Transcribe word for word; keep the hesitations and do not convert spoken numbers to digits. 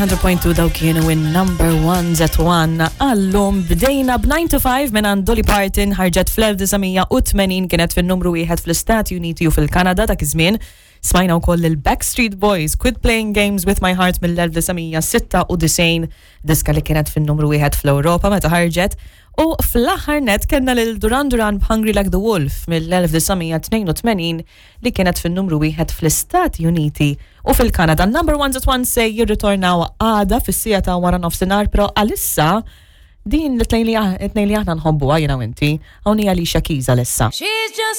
one hundred point two, daw kienu in Number Ones at one. Għallum bdejna b'nine to five minn Dolly Parton, ħarġet fl-elf disa' mija u tmenin, kienet fin-numru wieħed fl-Istati Uniti u fil-Kanada dak iż-żmien. Smajna wkoll il-Backstreet Boys, Quit Playing Games with My Heart mill-elf disa' mija sitta u disgħin, diska li kienet fin-numru wieħed fl-Ewropa meta ħarġet. U fl-aħħar net kellna lil Duran Duran b'Hungry Like the Wolf mill-elf disa' mija tnejn u tmenin li kienet fin-numru wieħed fl-Istati Uniti u fil-Kanada. Number Ones at One se jirritornaw għada fis-siegħa ta' wara nofsinhar, però għalissa din li tnejn li aħna nħobbuha jiena u inti, hawn hija Alicia Keys għalissa. She's just